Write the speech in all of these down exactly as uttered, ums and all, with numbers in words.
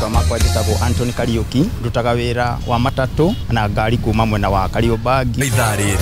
Marĩtwa makwa njĩtagwo Anthony Kariuki, ndutaga wĩra wa matatũ na ngari kuma mwena wa Kariobangi. Ithaa rĩrĩ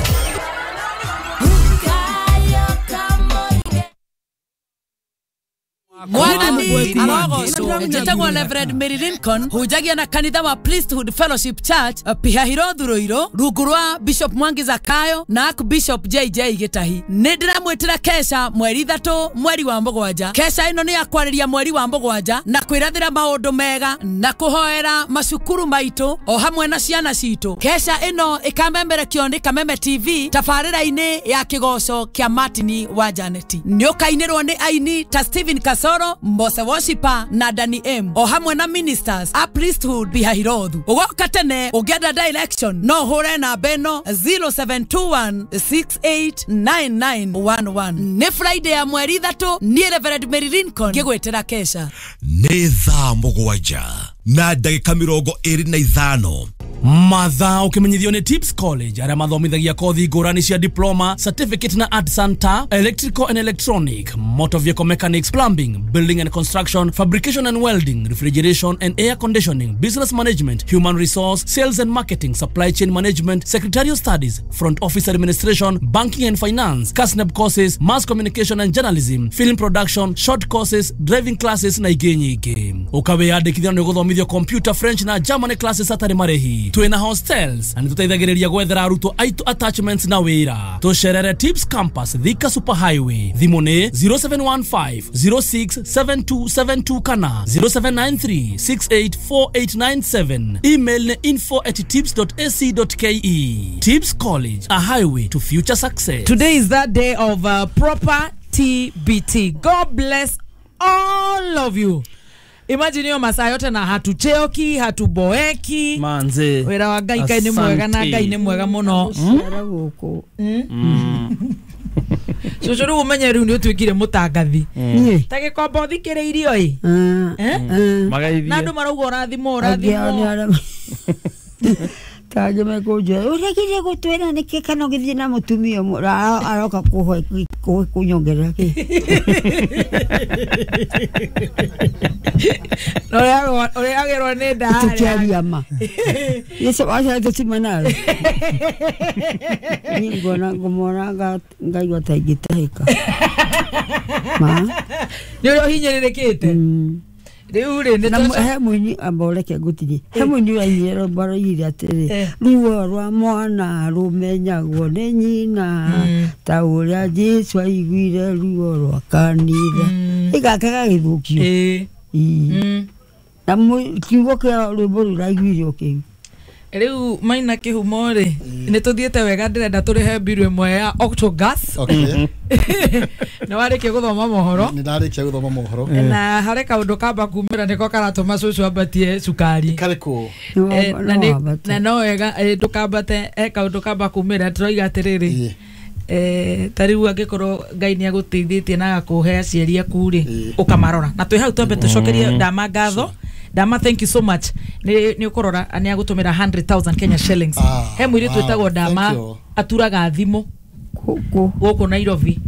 Mwathani arogocwo. Njĩtagwo Reverend Mary Lincoln, hunjagia na kanitha wa Priesthood Fellowship Church Pihahirothu Ruiru, rungu rwa Bishop Mwangi Zakayo na Archbishop J J Gitahi. Nĩ ndĩramwĩtĩra kesha mweri ithatũ mweri wa mũgwanja. Kesha ĩno nĩ ya kwarĩria mweri wa mũgwanja na kwĩrathĩra maũndũ mega na kũhoera macukuru maitũ o hamwe na ciana citũ. Kesha ĩno ĩkamemerekio nĩ Kameme T V tabarĩra-inĩ ya kĩgoco kĩa Martin wa Janeti. Nĩ ũkainĩrwo nĩ aini ta Stephen Kasoro, Mose Worshiper na Danny M o hamwe na ministers a Priesthood Pihahirothu. Ũgoka tene ũngĩenda direction no ũhũre namba ĩno zero seven two one six eight nine nine one one. Nĩ Friday ya mweri ithatũ, niĩ Reverend Mary Lincoln ngĩgwĩtĩra kesha. Nĩ thaa mũgwanja na ndagĩka mĩrongo ĩrĩ na ithano. Mathaa ũkĩmenyithio nĩ Tips College arĩa mathomithagia kothi ngũrani cia diploma, certificate na art center, electrical and electronic, motor vehicle mechanics, plumbing, building and construction, fabrication and welding, refrigeration and air conditioning, business management, human resource, sales and marketing, supply chain management, secretarial studies, front office administration, banking and finance, KASNEB courses, mass communication and journalism, film production, short courses, driving classes na ingĩ nyingĩ. Ũkawĩyandĩkithia nĩ ũgũthomithio computer, French na German classes hatarĩ marĩhi. Twĩna hostels na nĩtũteithagĩrĩria gwethera arutwo aitũ attachments na wĩra. Tũcerere Tips Campus Thika Super Highway. Thimũ nĩ zero seven one five zero six seven two seven two kana zero seven nine three six eight four eight nine seven. Email nĩ info at tips dot a c dot k e. Tips College, a highway to future success. Today is that day of uh, proper T B T. God bless all of you. Imagine hiyo masaa yote na hatucheoki, hatuboeki. Manze. Wĩra wa Ngai Ngai nĩ mwega na Ngai nĩ mwega mũno. Cũcũ rĩu ũmenye rĩu nĩ ũtuĩkire mũtangathi. Ta gĩkomba ũthikĩrĩirio ĩ. Na andũ marauga ũrathimwo ũrathimwo. Tangĩ mekũnjĩra ũregire gũtwĩra nĩkĩ kana ũgĩthiĩ na mũtumia ũmwe aroka kũnyongerera kĩ. Ũrĩagĩrwo nĩ nda harĩa. Tũkĩaria ma. Yesu aca tũcimanaga. Niĩ ngona ngũmona ngaigua ta ingĩtahĩka. Ma. Nĩ ũrĩa ũhinyĩrĩrĩkĩte. Rĩu rĩ nĩ he mũini amba ũreke ngũtigie. He mũini ũrainire rwĩmbo aroigire atĩrĩ ruo rwa mwana rũmenyagwo nĩ nyina ta ũrĩa Jesũ aiguire ruo rwa kanitha. Ĩgaka gagĩthũkio. Na kiugo kĩa rwĩmbo rũu raiguire o kĩu. Rĩu maina kĩhumo rĩ nĩ tũthiĩte wega ndĩrenda tũrĩhe mbiru ĩmwe ya Octogas. Nĩ warĩkia gũthoma mohoro. Nĩ ndarĩkia gũthoma mohoro. Na harĩ kaũndũ kamba kumĩra nĩko karatũma cũcũ ambatie cukari. Karĩkũ? Na no wega ndũkambate, he kaũndũ kamba kumĩra tũroiga atĩrĩrĩ eh ta rĩu angĩkorwo Ngai nĩ agũteithĩtie na agakũhe aciari aku rĩ ũkamarora. Na twĩ hau twambe tũcokerie Ndama ngatho. Dama, thank you so much. Ni ni ukorora ani agũtũmĩra hundred thousand Kenya shillings. He mũirĩtu wĩtagwo Dama aturaga thimũ gũkũ Nairobi.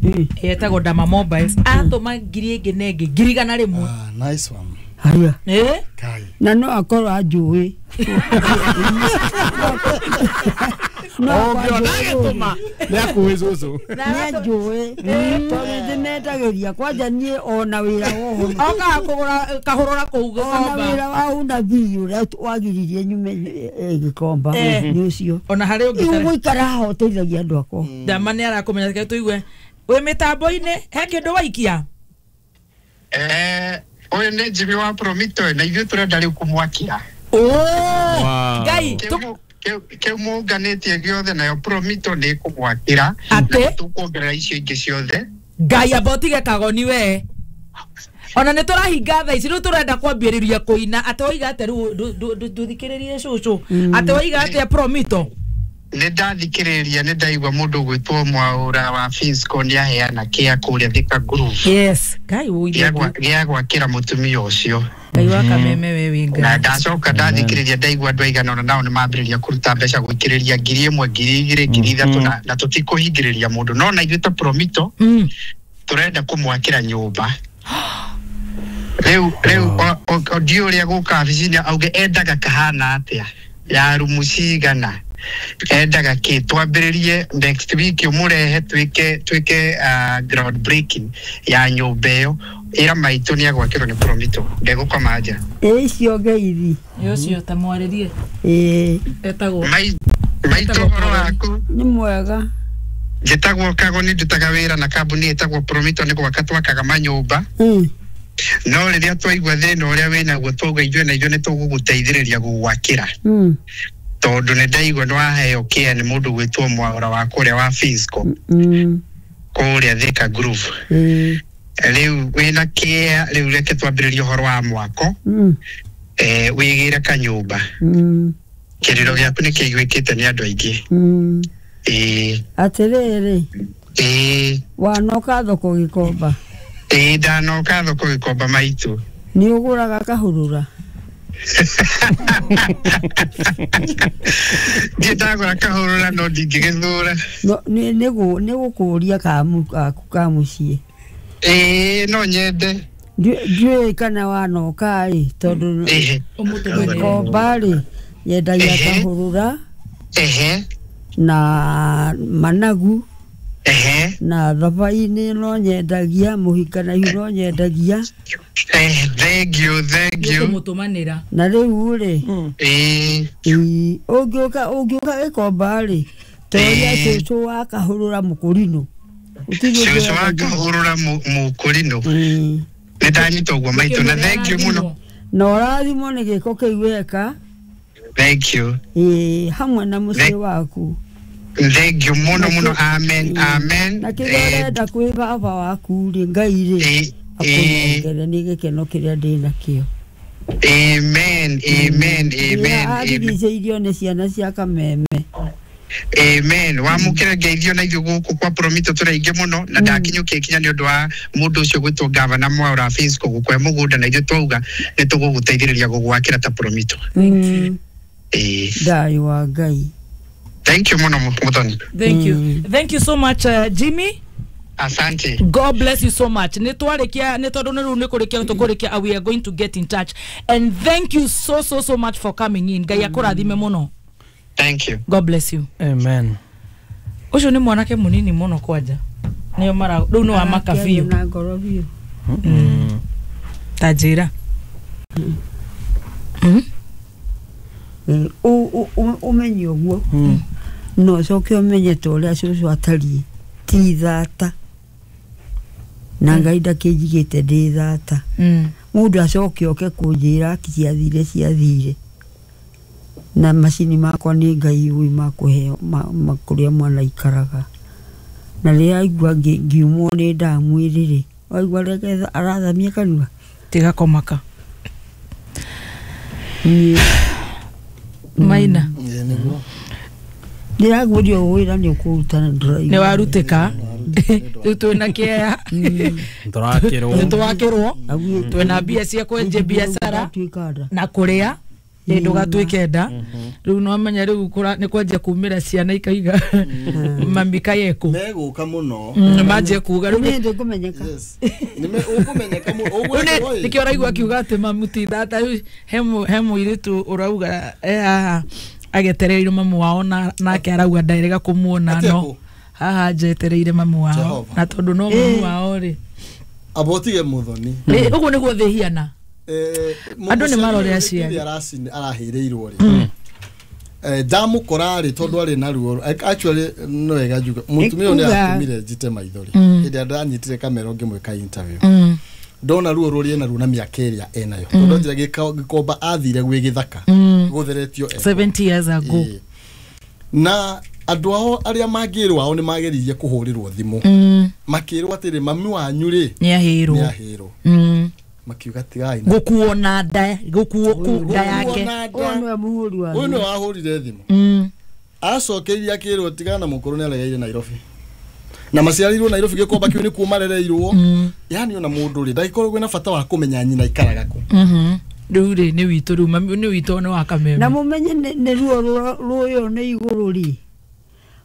Etagwo Dama Mobiles. Atũma ngiri ĩngĩ na ĩngĩ ngiri igana rĩmwe. Ah, nice one. Haya. Eh? Na no akorwo anjũĩ. Ũngĩona agĩtũma nĩ akuĩ cũcũ. Nĩ anjũĩ tondũ ndĩmetagĩria kwanja niĩ ona wĩra woho. Okaga kũgũra kahũrũra kũu Ona Gĩkomba. wĩra wa unabii ũrĩa wagiririe nyume Gĩkomba nĩ ũcio. Ona harĩ ũngĩ Rĩu gũikara haha ũteithagia andũ akwa. Dama nĩ arakũmenya reke tũigue. Wĩ mĩtambo-inĩ he kĩndũ waikia? Eh, ũyũ nĩ Jimmy wa Promito na ithuĩ tũrenda rĩu kũmwakĩra. Oh! Ngai kĩu mũnganĩtie gĩothe nayo Promito nĩ ĩkũmwakĩra. Atĩ? Tũkuongerera icio ingĩ ciothe. Ngai amba ũtige kagoni we. Ona nĩ tũrahinga thaa ici rĩu tũrenda kwambĩrĩria kũina. Atĩ waiga atĩa rĩu ndũthikĩrĩrie cũcũ. Atĩ waiga atĩa Promito? Nĩ ndathikĩrĩria nĩ ndaigua mũndũ ũgwĩtwo Mwaũra wa Finsco nĩ aheana kĩa kũrĩa Thika Groove. Yes. Ngai ũire. Gĩa gwakĩra mũtumia ũcio. Ngai wa Kameme we wĩ Ngai. Na ndacoka ndathikĩrĩria ndaigua andũ aigana ũna nao nĩ mambĩrĩria kũruta mbeca gũikĩrĩria ngiri ĩmwe ngiri igĩrĩ ngiri ithatũ na na tũtikũhingĩrĩria mũndũ no na ithuĩ ta Promito tũrenda kũmwakĩra nyũmba. Rĩu rĩu ndiũ ũrĩa gũka wabici-inĩ auge endaga kahana atĩa ya rumu cigana endaga kĩ twambĩrĩrie next week ũmũrehe twĩke twĩke uh, ground breaking ya nyũmba ĩyo ĩra maitũ nĩ agwakĩrwo nĩ Promito ndegũkoma nja. Ĩ icio ngeithi. Ĩ ũcio ta mwarĩrie. Ĩ etagwo maitũ ũhoro waku nĩ mwega. Njĩtagwo Kagoni, ndutaga wĩra na kambuni ĩtagwo Promito nĩ gwaka twakaga manyũmba. Mm. No rĩrĩa twaigua thĩna ũrĩa wĩnaguo twauga ithuĩ na ithuĩ nĩ tũgũgũteithĩrĩria gũgwakĩra. Mm. Tondũ nĩ ndaigua nĩ waheo kĩa nĩ mũndũ gwĩtwo Mwaura wa kũrĩa wa Fisco. Mm. Kũrĩa Thika Groove. Mm. Rĩu wĩna kĩa rĩu reke twambĩrĩrie ũhoro wa mwako. Mm. Eh, wĩgĩre kanyũmba. Mm. Kĩrĩro gĩaku nĩ kĩiguĩkĩte nĩ andũ aingĩ. Mm. Ĩĩ. Atĩrĩrĩ. Ĩĩ. Wanoka thoko Gĩkomba. Ĩĩ ndanoka thoko Gĩkomba maitũ. Nĩ ũgũraga kahũrũra? Ndiĩ ndagũra kahũrũra no ndingĩgĩthũra. No nĩ nĩ gũkũria kamu ka mũciĩ. Ĩĩ no nyende. Ndiũĩ kana wanoka ĩ tondũ Gĩkomba rĩ nyendagia kahũrũra. Ehe. Na managu. Ehe. Na thabai-inĩ no nyendagia mũhika na ihu no nyendagia. Eh, thank you, thank you. Mũtũmanĩra. Na rĩu rĩ. Ĩĩ. Ũngĩũka ũngĩũka Gĩkomba rĩ toria cũcũ wa kahũrũra mũkũrinũ. Cũcũ wa kahũrũra mũkũrinũ. Nĩ ndanyita ũguo maitũ na thank you mũno. Na ũrathimwo nĩ gĩko kĩu weka. Thank you. Ĩĩ hamwe na mũciĩ waku. Thank you mũno mũno. Amen, amen. Na kĩrĩa ũrenda kwĩ baba waku rĩ Ngai rĩ akũnengere nĩ gĩkeno kĩrĩa ndĩ nakĩo. Amen, amen, amen. Arigicĩirio nĩ ciana cia Kameme. Amen. Wamũkĩra ngeithio na ithuĩ gũkũ kwa Promito tũrĩ aingĩ mũno na ndakinyũkia ikinya nĩ ũndũ wa mũndũ ũcio gwĩtwo Gavana Mwaura Fisco gũkũhe mũgũnda na ithuĩ twauga nĩ tũgũgũteithĩrĩria gũgwakĩra ta Promito. Ĩĩ. Thayũ wa Ngai. Thank you mũno Muthoni. Thank you. Thank you so much uh, Jimmy. Asante. God bless you so much. Nĩ twarĩkia nĩ tondũ nĩ rĩu nĩ kũrĩkia tũkũrĩkia, we are going to get in touch. And thank you so so so much for coming in. Ngai akũrathime mũno. Thank you. God bless you. Amen. Ũcio nĩ mwanake mũnini mũno kwanja. Nĩo mara rĩu nĩ wa maka biũ. Na ngoro biũ. Ta njĩra. Mm. Ũmenye ũguo. No ũcoke ũmenye ta ũrĩa cũcũ atariĩ ti thata. Na Ngai ndakĩnjigĩte ndĩ thata. Mũndũ acoke oke kũnjĩra ciathire ciathire. Na macini makwa nĩ Ngai ũĩ makũheo kũrĩa mwana aikaraga. Na rĩrĩa aigua ngiumwo nĩ ndamwĩrĩ rĩ waigua reke arathamia kanua. Tiga kũmaka. Maina. Ndĩraguũrio wĩra nĩ ũkũruta na ndĩraigua. Nĩ warutĩka. Rĩu twĩna kĩeya. Tũrakĩrwo. Nĩ twakĩrwo. Twĩna mbia cia kwenjia biacara na kũrĩa. Ĩ ndũgatuĩke nda. Rĩu no menya rĩu nĩ kwanjia kumĩra ciana ikaiga mami kayekũ. Megũka mũno. Manjie kuga rĩu nĩ ndĩkũmenyeka. Ũkũmenyeka mũno. Nĩkĩo ũraigua akiuga atĩ mamu ti thata. He mũirĩtu ũrauga e haha agetereire mamu wao na nake arauga ndarega kũmuona no haha njetereire mamu wao na tondũ no mamu wao rĩ abotige Muthoni. Ũguo nĩguo thĩ hiana. Andũ nĩ marore aciari arahĩrĩirwo rĩ ndamũkora rĩ tondũ arĩ na ruo actually no wega njuga mũtumia ũyũ nĩ atũmire njite maithori hĩndĩ ĩrĩa ndanyitire kamera ngĩmwĩka interview ndona ruo rũrĩa ena ruo na mĩaka ĩrĩa enayo tondũ njĩra Gĩkomba athire gwĩ gĩthaka gũtheretio seventy years ago na andũ ao arĩa mangĩrwo ao nĩ mageririe kũhũrĩrwo thimũ makĩrwo atĩrĩ mami wanyu rĩ nĩ ahĩrwo nĩ ahĩrwo makiuga tigai gukuo na nda gukuo nda yake ũyũ nĩwe mũhũri wa ũyũ nĩwe wahũrire thimũ acokeirie akĩrwo tigana mũkũrũ nĩ aregeire Nairobi na maciarirwo Nairobi Gĩkomba kĩu nĩkuo marereirwo yani ona mũndũ rĩ ndagĩkorwo kwĩna bata wa kũmenya nyina ikaraga kũ rĩu rĩ nĩ witũ rĩu mami nĩ witũ nĩ wa Kameme na mũmenye nĩ ruo rũyũ nĩ igũrũ rĩ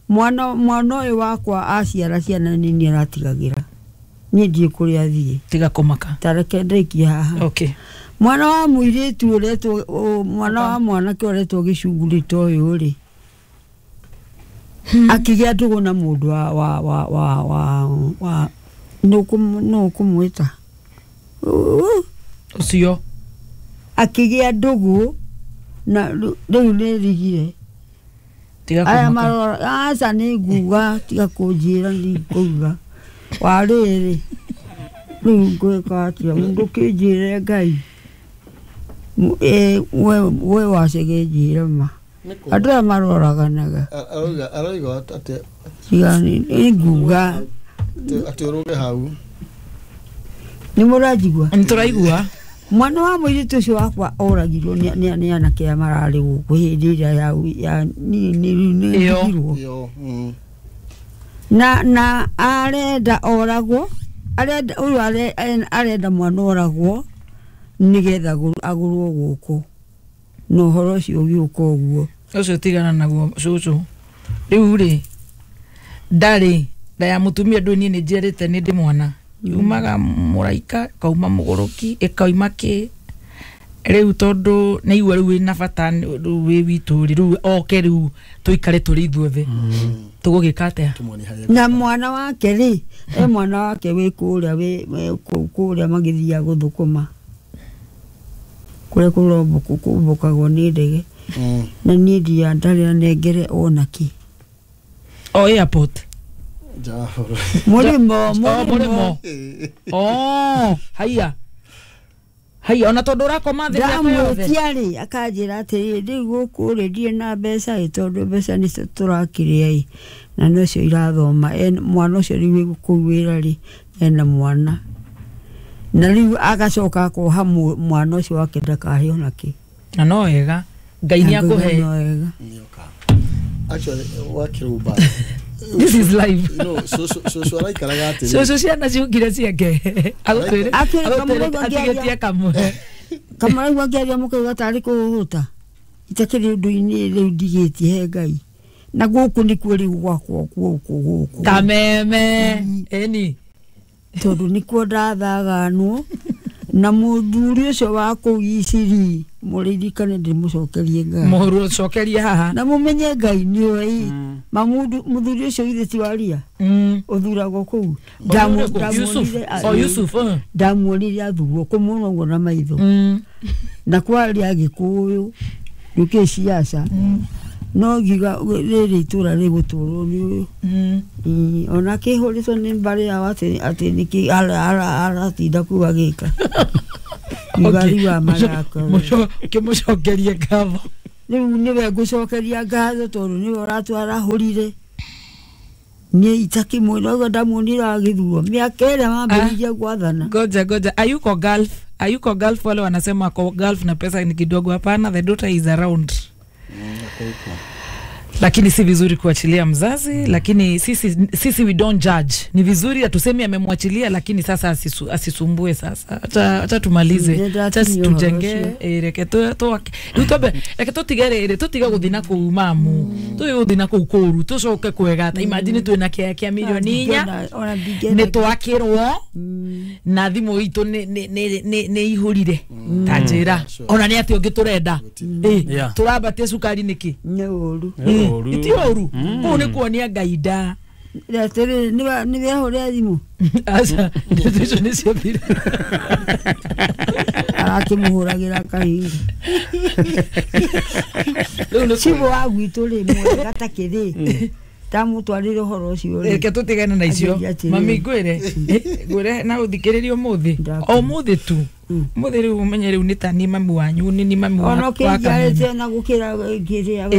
mwana mwana ũyũ wakwa aciara ciana nini aratigagĩra Niĩ ndiĩ kũrĩa athiĩ. Tiga kũmaka. Ta reke ndĩkie haha. Okay. Mwana wa mũirĩtu ũretwo mwana wa mwanake ũretwo gĩcungurĩ ta ũyũ rĩ, akĩgĩa ndũgũ na mũndũ wa wa wa wa wa wa nũ ũkũmwĩta ũcio, akĩgĩa ndũgũ na rĩu nĩ rigire. Aya marora aca nĩ nguga, tiga kũnjĩra nĩ ngũuga wa rĩrĩ rĩu ngwĩka atĩa, mũndũ kĩnjĩre Ngai we wacege njĩre ma andũ aya maroraganaga. Aroiga atĩ tiga nĩ nguga atĩ ũrũge hau. Nĩ mũranjigua? Nĩ tũraigua. Mwana wa mũirĩtu ũcio wakwa oragirwo nĩ anake aya mararĩ gũkũ hĩndĩ ĩrĩa ya nĩ na na arenda oragwo, arenda ũyũ arenda mwana oragwo nĩgetha agũrwo gũkũ, na ũhoro ũcio ũgĩũka ũguo. Ũcio tigana naguo cũcũ. Rĩu rĩ ndarĩ nda ya mũtumia ndũĩ niĩ nĩ njiarĩte nĩ ndĩ mwana yumaga mũraika ĩkauma mũgũrũki ĩkauma kĩ rĩu tondũ nĩ igua rĩu wĩna bata rĩu wĩ witũ rĩ rĩu oke rĩu tũikare tũrĩ ithuothe tũgũgĩka atĩa? Na mwana wake rĩ, e mwana wake wĩ kũrĩa wĩ kũrĩa magĩthiaga gũthũkũma kũrĩa kũrombũkagwo nĩ ndege, na niĩ ndia ndarĩ anengere ona kĩ. O airport mũrĩmo mũrĩmo. Oh, haiya haiya, ona tondũ ũrakoma thĩ mĩaka yothe. Ndamwĩtia rĩ akanjĩra atĩrĩrĩ, rĩu gũkũ rĩ ndirĩ na mbeca ĩ, tondũ mbeca nĩcio tũrakĩrĩa ĩ, na nocio irathoma. Mwana ũcio rĩu wĩ kũu wĩra rĩ ena mwana, na rĩu agacoka akoha mwana ũcio wake ndakahe ona kĩ. Na no wega Ngai nĩ akũhe. Actually wakĩrũmba This is life. No, so so so araikaraga atĩrĩ. Cũcũ ciana ciũkire ciake. Agũtwĩre atigĩtie kamwe. Kamũraigua ngĩaria mũkauga tarĩ kũhũta. Itakĩrĩ ũndũ-inĩ rĩu ndigĩtie he Ngai. Na gũkũ nĩkuo rĩu gwakwa gũkũ gũkũ. Kameme. Ĩni. Tondũ nĩkuo ndathaganwo na mũthuri ũcio wa kũu Iciri mũririkane ndĩmũcokerie Ngai. Mũcokerie haha. Na mũmenye Ngai nĩoĩ. Ma mũthuri ũcio ithe ti waria ũthuragwo kũu. Ndamuonire athurwo kũmuona ũguo na maitho. Na kwaria Gĩkũyũ ndũkĩ ciaca no ngiuga rĩrĩ itũra rĩgũtũrwo nĩ ũyũ. Ona kĩhũrĩtwo nĩ mbarĩ yao atĩ atĩ nĩkĩ aratinda kũu agĩka. Ũgari wa marakara. Kĩmũcokerie ngatho. Rĩu nĩwe ngũcokeria ngatho tondũ nĩwe ũratwarahũrire. Niĩ itakĩmwĩra ũguo ndamuonire agĩthurwo mĩaka ĩrĩa mambĩrĩirie gwathana. Ngoja ngoja, ayuko Gulf, ayuko Gulf. Wale wanasema ako Gulf na pesa ni kidogo. Hapana, the daughter is around. Lakini si vizuri kuachilia mzazi, lakini sisi sisi we don't judge. Ni vizuri atusemi amemwachilia, lakini sasa asisu, asisumbue sasa. Acha acha tumalize. Acha tujenge reke tu tu tutobe reke tutigere re tutiga guthina kuu mamu. Tu guthina kuu kuru tucoke kwega. Ta imagine twina kia kia milioni inya. Ni twakirwo na thimu itu ni ni ni ni ihurire. Ta njira. Ona ni ati ungi turenda. Eh turambatie cukari niki? Ni uru. Iti oru kuu nĩ kuonia Ngai nda. Atĩrĩrĩ nĩ wehũrĩra thimũ? Aca ndeto icio nĩ ciathira. Arakĩmũhũragĩra kahinga. Cibũ wa gwitũ rĩ mwega ta kĩrĩ ndamũtwarĩre ũhoro ũcio rĩ. Reke tũtigane na icio. Mami ngwĩre ngwĩre na ũthikĩrĩrie ũmũthĩ o ũmũthĩ tu ũmũthĩ rĩu ũmenye rĩu nĩ ta niĩ mami wanyu nĩ niĩ mami wa Ona ũkĩnjiarĩte na gũkĩra kĩrĩa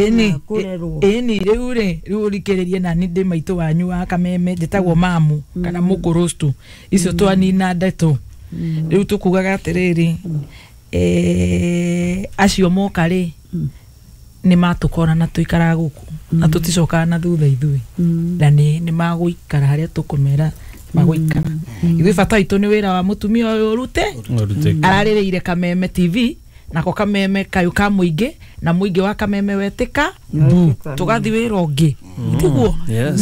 kũrerwo. Ĩni rĩu rĩ rĩu ũrikĩrĩrie na niĩ ndĩ maitũ wanyu wa Kameme njĩtagwo mamu kana mũkũrũstu icio twanina ndeto rĩu tũkugaga atĩrĩrĩ eh acio moka rĩ nĩ matũkora na tũikaraga gũkũ na tũticokaga na thutha ithuĩ na nĩ nĩ magũikara harĩa tũkũmera magũikara ithuĩ bata witũ nĩ wĩra wa mũtumia ũyũ ũrute ararĩrĩire Kameme T V Nako kameme kayu ka muingi na muingi wa kameme wetika bu tugathi wira ungi tiguo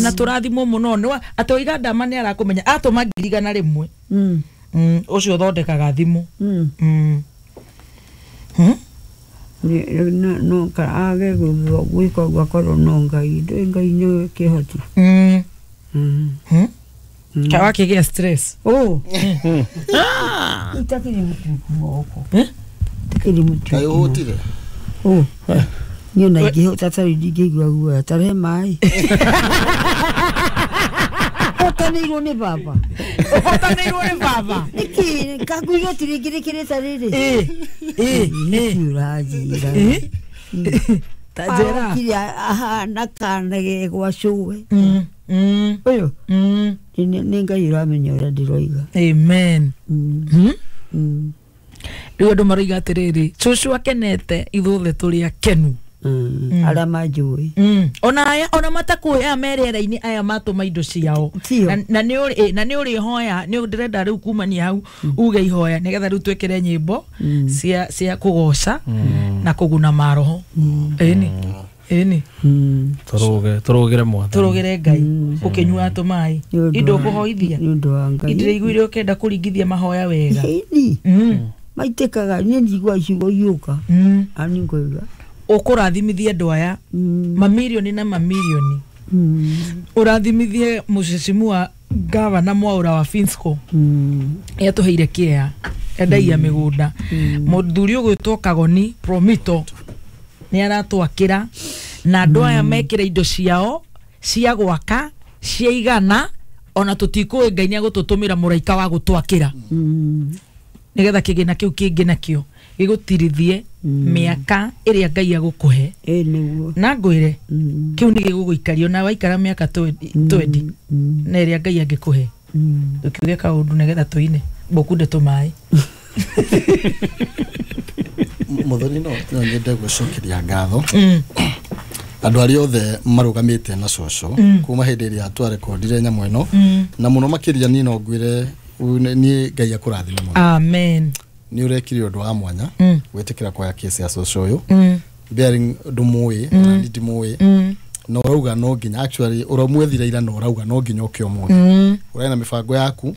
na turathimwo muno ni ati oiga ndama ni arakumenya atuma ngiri igana rimwe mm ucio uthondekaga thimu mm no no ka age gwika gwakorwo no ngai ndo ngai nĩ kĩhoti mm mm ka wakĩgĩa stress oh ah itakiri mtu moko eh itakiri mtu kayo hotire oh niĩ na ingĩhota tarĩ ndingĩigua guoya tarehe maĩ ũhotanĩirwo nĩ baba ũhotanĩirwo nĩ baba nĩkĩ kakuiga tirĩngĩrĩkĩrĩte rĩrĩ ĩ ĩ nĩkĩ ũranjĩra ta njĩra okire ahana kana ge gwa cũwe ũyũ nĩ Ngai ũramenya ũrĩa ndĩroiga amen rĩu andũ maroiga atĩrĩrĩ cũcũ akenete ithuothe tũrĩ akenu arĩa manjũĩ ona aya ona matakũĩ aya me rĩera-inĩ aya matũma indo ciao na nĩ ũrĩ na nĩ ũrĩhoya nĩ ndĩrenda rĩu kumania hau uge ihoya nĩgetha rĩu twĩkĩre nyĩmbo cia cia kũgoca na kũguna maroho ĩni ĩni tũrũge tũrũgĩre mwathani tũrũgĩre Ngai ũkĩnyua tũmaĩ indo ũkũhoithia nĩ ũndũ wa Ngai ndĩraiguire ũkĩenda kũringithia mahoya wega ĩni maitĩkaga niĩ njigua ciugo iũka ani ngoiga ukurathimithie andu aya mamirioni na mamirioni urathimithie mucecimua gavana Mwaura wa Finsco yatuheire kia endagia migunda muthuri ugwitwo Kagoni Promito ni aratwakira na andu aya mekire indo ciao cia gwaka cia igana ona tutikũĩ Ngai ni agũtũtũmĩra mũraika wa gũtwakĩra nigetha kĩgĩna kĩu kĩngĩ nakĩo gĩgũtirithie mĩaka ĩrĩa Ngai agũkũhe na ngwĩre kĩu nĩ gĩgũgũikaria ona waikara mĩaka twendi na ĩrĩa Ngai angĩkũhe tũkiuge kaũndũ nĩgetha tũine mbũkunde tũmaĩ Muthoni no no nyende gũcokeria ngatho andũ arĩa othe marũgamĩte na cũcũ kuma hĩndĩ ĩrĩa twarekondire nyamũ ĩno na mũno makĩria niĩ no ngwĩre niĩ Ngai akũrathime mũno amen ni urekire undu wa mwanya gwitikira kwa kesi ya cũcũ uyu bearing ndumuĩ na ni ndimũĩ no urauga no nginya actually uramwethire ira no urauga no nginya uke umuthi uraina mibango yaku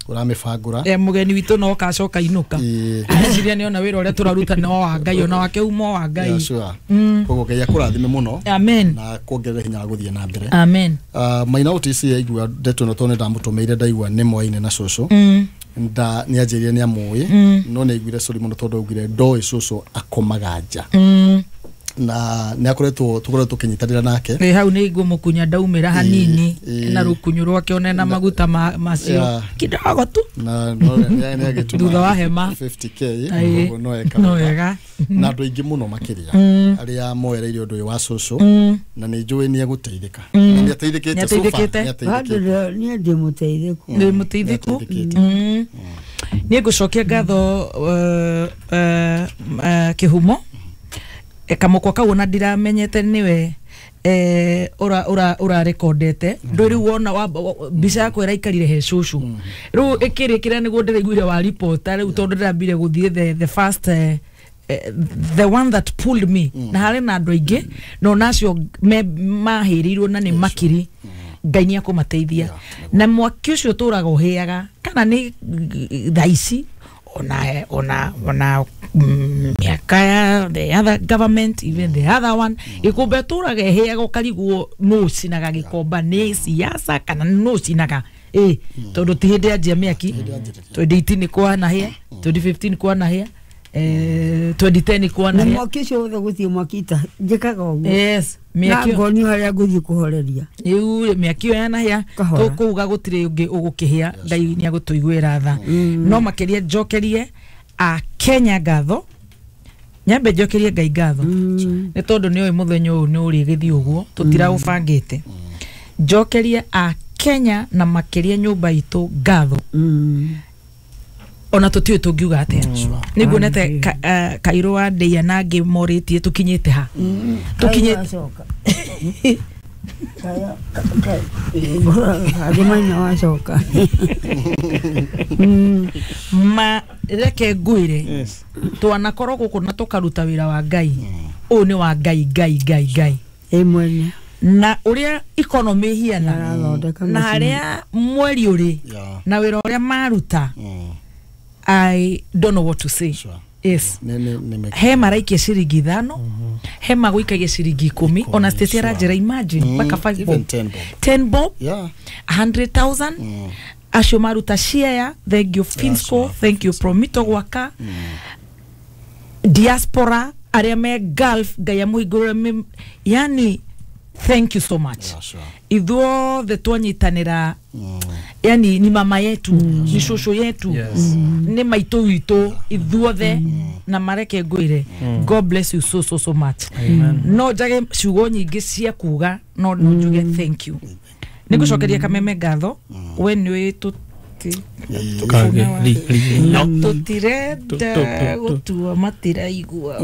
uramibangura eh mugeni witu no kacoka inuka areciria ni ona wira uria turaruta no wa Ngai ona wake umo wa Ngai koguo Ngai akurathime muno amen na kuongerera hinya wa guthie na mbere amen maina O T C yaigua ndeto no tone ndamutumeire ndaigua ni mwaine na cũcũ nda ni anjĩrire ni amũĩ no nĩ aiguire cũri mũno tondũ augire ndoĩ cũcũ akomaga nja na nĩ akoretwo tũkoretwo tũkĩnyitanĩra nake ĩ hau nĩ ngũmũkunya ndaumĩra hanini na rũkunyu rwake one na maguta macio kidogo tu na no nĩ agĩtũma thutha wa hema fifty k koguo no eka no wega na andũ aingĩ mũno makĩria arĩa moereire ũndũ ũyũ wa cũcũ na nĩ njũĩ nĩ egũteithĩka nĩ ateithĩkĩte so far nĩ ndĩ mũteithĩku ndĩ mũteithĩku nĩ ngũcokia ngatho kĩhumo kamũkwa kau ona ndiramenyete niwe eh ura ura ura rekondete ndu riu wona mbica yakwa ĩraikarire he cũcũ riu ĩkĩrĩkĩra nĩguo ndĩraiguire wa reporter riu tondũ ndĩrambire gũthiĩ the the first uh, the one that pulled me na harĩ na andũ aingĩ no nacio mahĩrĩirwo na nĩ makiri Ngai nĩ akũmateithia na mwaki ũcio ũtũraga ũhĩaga kana nĩ thaa ici ona ona ona miaka ya the other government even the other one ikumbe turaga heaga ukarigwo no cinaga gikomba ni siasa kana no cinaga eh tondu ti hindi anjia miaki twenty eighteen kwana hia twenty fifteen kwana hia eh twenty ten kwana hia mwaki ucio wothe guthie mwaki ta njikaga uguo yes miaki ngoni haria nguthie kuhoreria riu miaki yo yana hia tukuuga gutiri ungi ugukihia Ngai ni agutuiguira tha no makiria njokerie a Kenya ngatho nyambe njokerie Ngai ngatho ni tondu ni oi muthenya uyu ni uri githii uguo tutiraubangite njokerie a Kenya na makiria nyumba itu ngatho ona tutiwe tungiuga atia niguonete Kairũ wa Ndeia na angĩ morĩtie tũkinyĩte ha tũkinyĩte Andũ maina wacoka. Ma reke ngwire twanakorwo gũkũ na tũkaruta wĩra wa Ngai ũyũ nĩ wa Ngai Ngai Ngai Ngai ĩ mwene na ũrĩa economy hiana Nĩarathondeka na macini. harĩa mweri ũrĩ Yeah. na wĩra ũrĩa maruta Mm. I don't know what to say. Sure. Yes. Nĩ nĩ nĩ He maraikia ciringi ithano, he magũikagia ciringi ikũmi, ona Stacy aranjĩra imagine mpaka five Even bob, ten bob. ten bob, Yeah. a hundred thousand acio maruta share. Thank you Finsco, sure. thank you Promito gwaka diaspora arĩa me Gulf, Ngai amũhingũrĩre mĩ- yani thank you so much. Yeah, sure. Ithuothe twanyitanĩra, yani ni mama yetu, ni shosho yetu, Yes. nĩ maitũ witũ ithuothe, na mareke ngwĩre God bless you so so so much. Amen. No njage ciugo nyingĩ cia kuga, no no njuge thank you. Nĩ ngũcokeria Kameme ngatho, we nĩ tũti Tukage li li no. Tũtirenda Tu- tu- tu- gũtua matiraigua,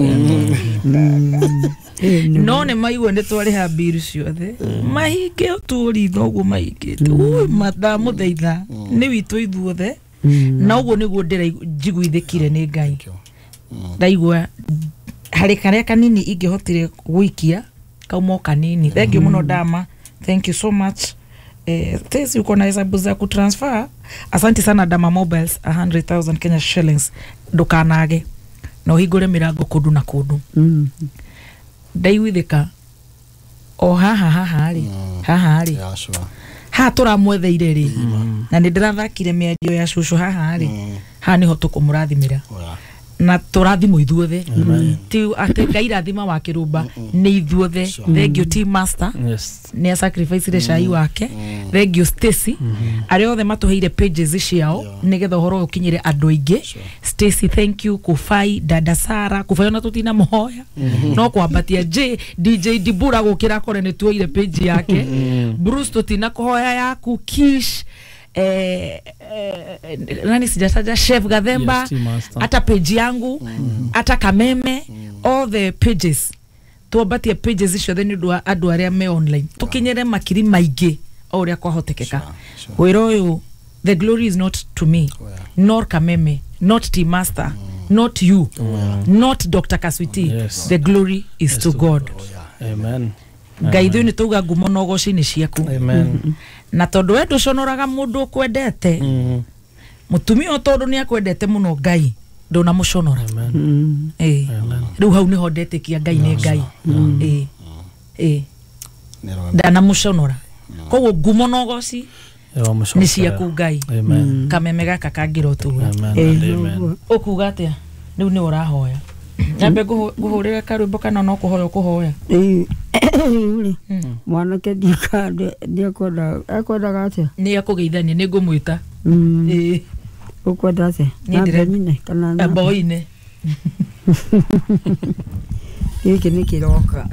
no nĩ maigua nĩ twarĩha mbiru ciothe mahinge ũtũũritho ũguo mahingĩte. Ui, ndamũthaitha nĩ witũ ithuothe, na ũguo nĩguo ndĩraigua njiguithĩkire nĩ Ngai. Ndaigua harĩ karĩa kanini ingĩhotire gũikia kauma o kanini. Thank you mũno Dama, thank you so much. Eh, Tesi uko na hesabu za kutransfer. Asante sana Dama Mobiles, one hundred thousand Kenya shillings, ndukanage na ũhingũre mĩrango kũndũ na kũndũ. Mm. Ndaiguithĩka o haha haha rĩ haha rĩ Yeah, sure. haha tũramwetheire rĩ, na nĩ ndĩrathakire mĩario ya cũcũ haha rĩ, haha nĩho tũkũmũrathimĩra Oh, yeah. na tũrathimwo ithuothe, ti atĩ Ngai rathima wa kĩrũmba, nĩ ithuothe. Thank you Team Master. Yes. Nĩ asacrificire cai wake. Thank you Stacy, arĩa othe matũheire pages ciao nĩgetha ũhoro ũyũ ũkinyĩre andũ aingĩ. Stacy, thank you. Kufai, dada Sara Kufai, ona tũtina mũhoya no kwambatia J D J Dibura gũkĩra kore nĩ tuoire page yake. Bruce, tũtina kũhoya yaku. Kish, eh, eh, nani sijataja, Chef Gathemba. Yes, Team Master. Hata page yangu, hata Kameme, all the pages twambatie pages ciothe nĩ ũndũ wa andũ arĩa me online tũkinyĩre makiri maingĩ o ũrĩa kwahotekeka. Wĩra ũyũ, the glory is not to me, nor Kameme, not Team Master, not you, not Doctor Kaswiti. Yes. The glory is to God. Amen. Ngai ithuĩ nĩ tauga ngumo na ũgoci nĩ ciaku. Amen. Na tondũ we ndũconoraga mũndũ ũkwendete, Mm. mũtumia ũyũ tondũ nĩ akwendete mũno, Ngai ndũnamũconora. Amen. Ĩĩ, rĩu hau nĩho ndetĩkia Ngai nĩ Ngai. Ĩĩ ĩĩ, ndanamuconora, koguo ngumo na ũgoci nĩ ciaku Ngai. Amen. Kameme gaka kangĩra ũtũra. Amen and amen. Ũkuga atĩa rĩu? Nĩ ũrahoya nyambe ngũhũrĩre karwĩmbo kana no kũhoya ũkũhoya? Rĩu rĩ, mwanake ndiakwenda, ekwendaga atĩa? Nĩ akũgeithania, nĩ ngũmwĩta. Mm. Ĩĩ. Ũkwenda atĩa? Niĩ ndĩre- Nambe nyine kana na- Mboine. Gĩkĩ nĩ kĩroka.